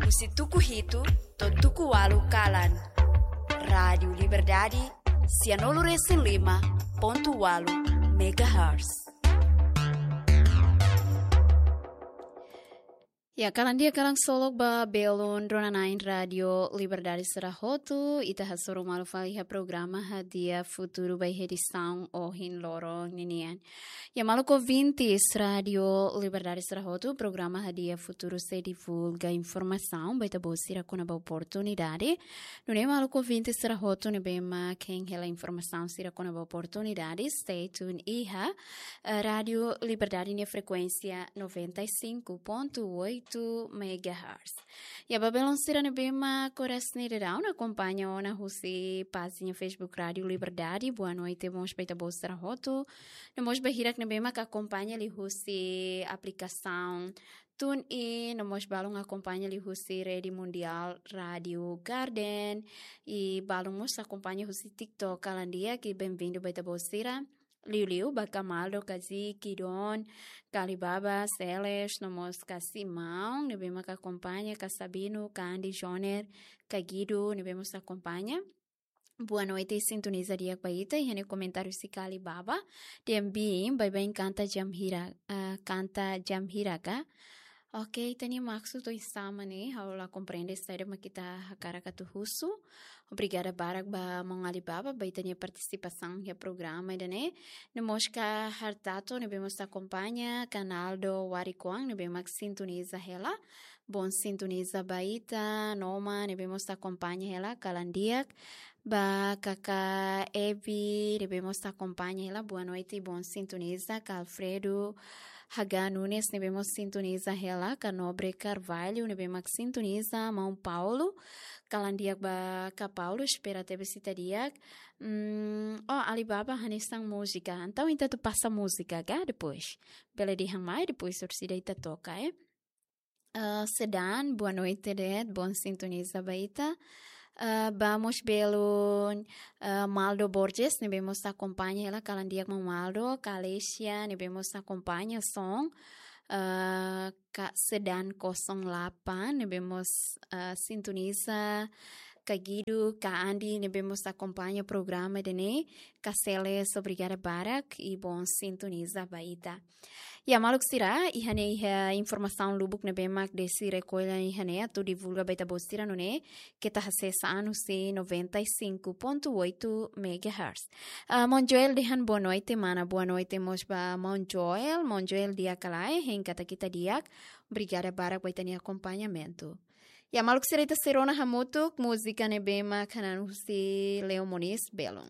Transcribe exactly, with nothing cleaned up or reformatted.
Husi tuku hitu to'o tuku ualu kalan. Rádiu Liberdade, sianulu resin lima pontu ualu megahertz. Ya, kalan di'ak, kalan solok ba belun rona-na'in Rádiu Liberdade sira hotu, ita hasoru malu fali iha programa Hadi'a Futuru ba iha edisaun ohin loron ninian. Ya, maluk ouvintes Rádiu Liberdade sira hotu, programa Hadi'a Futuru sei divulga informasaun ba ita-boot sira kona-ba oportunidade. Nune'e maluk ouvintes sira hotu ne'ebé mak hein hela informasaun sira kona-ba oportunidade, stay tuned iha, eh, Rádiu Liberdade nia frekuénsia noventa e cinco ponto oito megahertz. Ya, ba belun sira ne'ebé mak oras ne'e daudaun akompaña ona husi pájina Facebook Rádiu Liberdade, boa noite mós ba ita-boot sira hotu. No mós ba hirak ne'ebé mak akompaña liuhusi aplikasaun TuneIn, no mós balun akompaña liuhusi Rede Mundiál Rádiu Garden, i balun mós akompaña husi TikTok, kalan di'ak, i benvindu ba ita-boot sira. Liuliu ba Kamaldo, Kazi, Kidon, Kalibaba, Seles, no mós Kasimaun, ne'ebé mak akompaña, Kasabinu, Kandi, Joner, Kagidu, ne'ebé mós akompaña. Boa noite, sintoniza di'ak ba ita, iha ne'e komentáriu husi Kalibaba. Dehan biin, baibain kanta jam hira, ah, kanta jam hira ka? Oke, ita-nia maksud oinsá mak ne'e, ha'u la komprende saida mak ita hakarak atu husu. Obrigada barak ba maun Alibaba, ba ita-nia partisipasaun iha programa ida-ne'e. No mós Ka Hartato, ne'ebé mós akompaña, Kanaldo Warikoang, ne'ebé mak sintoniza hela. Bon sintoniza ba ita, Noma, ne'ebé mós akompaña hela, kalan di'ak. Ba Kaka Evi, ne'ebé mós akompaña hela, boa noite, bon sintoniza, Ka Alfredo, Haga Nunes, ne'ebé mós sintoniza hela, Ka Nobre Carvalho, ne'ebé mak sintoniza, maun Paulo, kalan di'ak ba Ka Paulo, espera tebes ita di'ak. Hmm, oh, Alibaba hanesan múzika, entaun ita atu pasa múzika ka depois? Bele dehan mai, depois orsida ita toka, eh. Eh, Sedan, boa noite de'it, bon sintoniza ba ita. Eh, ba mós belun, eh, Maldo Borges, ne'ebé mós akompaña hela, kalan di'ak maun Maldo, Kalesia, ne'ebé mós akompaña son, eh, Ka Sedan kosong delapan, ne'ebé mós, eh, sintoniza, Kagidu, Ka Andi, ne'ebé mós akompaña programa ida-ne'e, Ka Seles, obrigada barak, i bon sintoniza ba ita. Ya, maluk sira, iha ne'e iha informasaun lubuk ne'ebé mak Desi rekolla iha ne'e atu divulga ba ita-boot sira nune'e, keta hasesa an husi noventa e cinco ponto oito megahertz. Ah, maun Joel dehan boa noite, mana, boa noite mós ba maun Joel, maun Joel di'ak ka lae, hein katak ita di'ak, obrigada barak ba ita-nia akompañamentu. Ya, maluk sira, ita sei rona hamutuk múzika ne'ebé mak hanan husi Leo Moniz, belun.